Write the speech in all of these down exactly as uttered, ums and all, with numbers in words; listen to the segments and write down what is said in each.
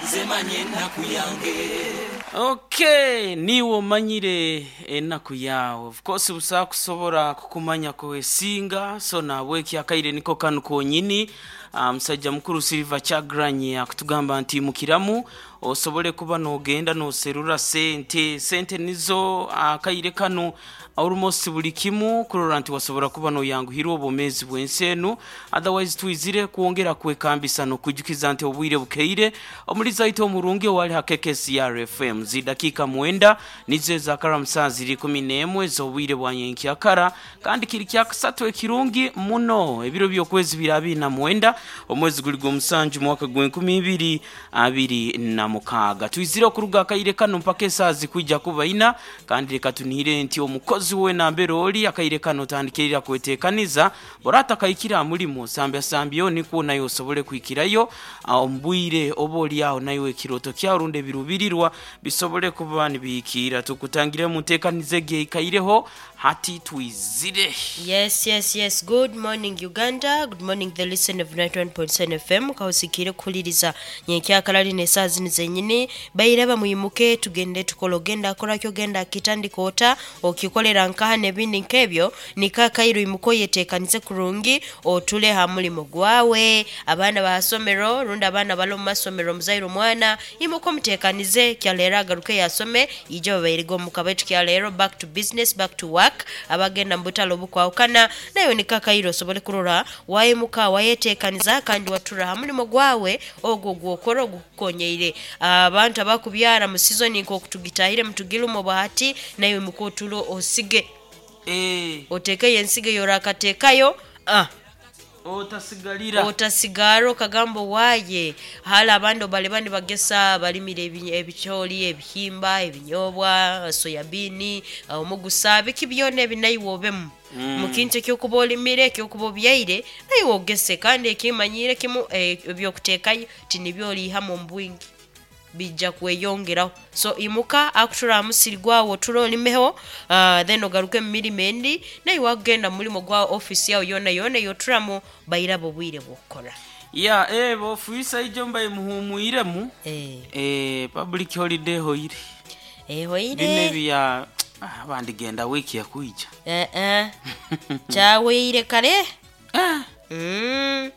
Nze manye ennaku yange. Okay, niwe omanyire enaku yawe. Of course busa kusobora kukumanya kwesinga, so nabweki akaire niko kanu konyini. Ah, musajja mukuru Silver Kyagulanyi akutugamba nti mukiramu osobole kuba nogenda noserura sente. Sente nizo akaire kanu almost buli kimu kurora nti wasobora kuba noyanguhirwa obwomezi bw'ensi enu. Otherwise twizire kwongera kwekambisa n'okwijukiza nti obwire bukeire omuliza waitu omurungi owali ha K K C R F M. Zidakika mwenda nizo ezakara saa ziri kumi n'emwe z'obwire bwa nyenkyakara, kandi kiri kyakusatu ekirungi muno, ebiro by'okwezi biri abiri na mwenda, omwezi guli gw'omusanju, mwaka gw'enkumi ibiri abiri na mukaaga. Twizire okuruga akaire kano mpaka esaaha zikwija kuba ina, kandi reka tunihire nti omukozi we nambere oli akaire kano otandikirira kwetekaniza borata kaikira aha mulimo sambya nikwo naye osobole kwikirayo ah, omu bwire oba oli aho nayo ekiroto kyawe rundi ebirubirirwa bisobole kuba nibihikiira. Tukutangire mu nteekaniza egi eikaireho hati twizire. Yes, yes, yes. Good morning, Uganda. Good morning, the listener of ninety-one point seven F M. Kahusikire kuhuliriza nyenkyakala lino esaaha zino zenyini. Bairaba muyimuke tugende tukole, ogenda akorakyo, ogenda akitandika ota okikolera nkaha n'ebindi nk'ebyo. Nikakairo imuka oyeteekanize kurungi otule ha mulimo gwawe. Abaana bahasomero rundi abaana bali omu masomero, omuzaire omwana imuka omuteekanize kyaleero agaruke yasome ije babairege omuka. Baitu kyaleero back to business, back to work. Abagenda mu butale obukwawukana nayo nikakairo osobole kurora wayimuka wayeteekaniza kandi watura ha mulimo gwawe ogwo gwokora ogukukonyeire. Abantu abakubyara mu season nk'okutugitahire mutugirimu bahati, nayo imuka otulo osige, Eh, otekeyo ensigo yorakateekayo ah. Otasigalira. Otasigara okagamba waaye hali abandi bali nibagesa balimire ebi- ebicooli, ebihimba, ebinyobwa, soyabini, omugusa, biki byona ebi, naiwe obemu mukintu ekyokuba olimire, ekyokuba obyaire, naiwe ogese. Kandi ekimanyire kimu, eh, ebyokuteekayo tinibyo oliihamu omu bwingi, bijja kweyongeraho. So imuka akutura aha musiri gwawe oture olimeho, uh, then ogaruke mu mirimo endi, naiwe wakugenda mu mulimo gwa office yawe yona yona eyoturamu bairaba obwire bw'okukora. Ya, eh, bofuisa ijo mbaye muhumwiremu. Eh. eh, public holiday hoire. Ehoire. Bino ebya ah, abandi genda wiki yakwija. Eh, eh. Kyaweire kare. Ah, Mm.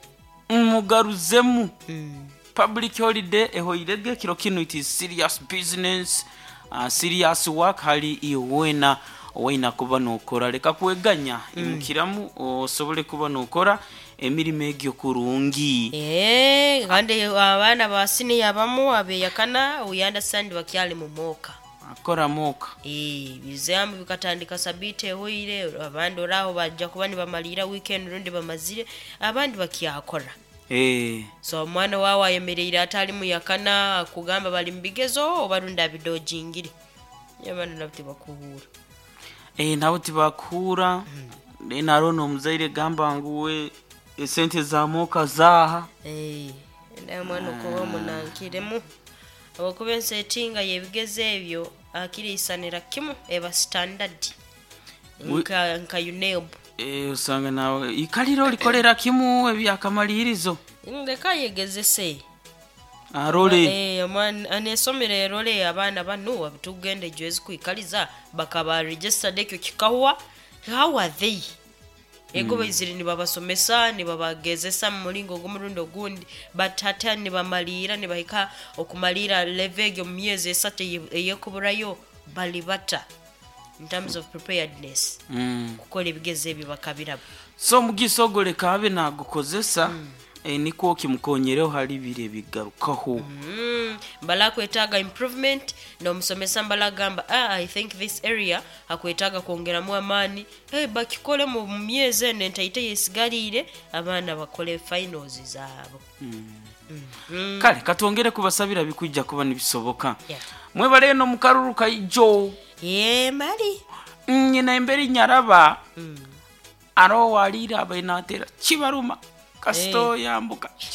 mugaruzemu. Mm. Public holiday ehoirege kiro kino, it is serious business, uh, serious work hali iwena waina kuba nokora. Leka kweganya, imukiramu osobole kuba nokora emirimo egyo kurungi. Eh, kandi abaana ba siniya abamu abeyakana, we understand, bakyali mu mooka. Akora moka. Eh, bizamu bikatandika sabiti ehoire, abandi oraho bajja kuba nibamalira weekend rundi bamazire, abandi bakyakora. Eh, so omwana wawe ayemereire atali muyakana akugamba bali mu bigezo oba rundi abidojingire, abaana nabo tibakuhuura. Eh, nabo tibakuhura. mm. Narona omuzaire gamba ngu we esente za moka zaha. Eh, naye omwana okuba omunankiremu olwokuba ensetinga y'ebigezo ebyo akiriisanira kimu eba standard We- nka nka UNEB. Eh, usanga nawe ikaliro likolera kimu ebyakamalirizo. Leka yegezese. Arole. Eh, omwana anesomero erole abaana banu tugenda ejo ezikwikaliza bakaba registered ekyo kikahwa. How are they? Ego baizire nibabasomesa, nibabagezesa mu mulingo ogw'omurundi ogundi, but ate nibamaliira nibahika okumalira level egyo mu myezi esatu eye- eyekuburayo, bali bata in terms of preparedness mm. kukola ebigezo ebyo bakabiraba? So omugiso ogwo leka abe nagukozesa, mm. eh, nikwo kimukonyereho hali bire bigarukaho. Mm, mbala akwetaaga improvement n'omusomesa mbala agamba, "Ah, I think this area akwetaaga kwongeramu amaani." Hey, bakikole mu myezi eno entaite yesigaliire abaana bakole finals zaabo. Mm. Kale katwongere kubasabira bikwijja kuba nibisoboka. Yeah. Mwebale eno mukaruru kaijo. Ye mali. Nyina emberi nyaraba aro walira abainatera kibaruma kasito yambuka. Kiba-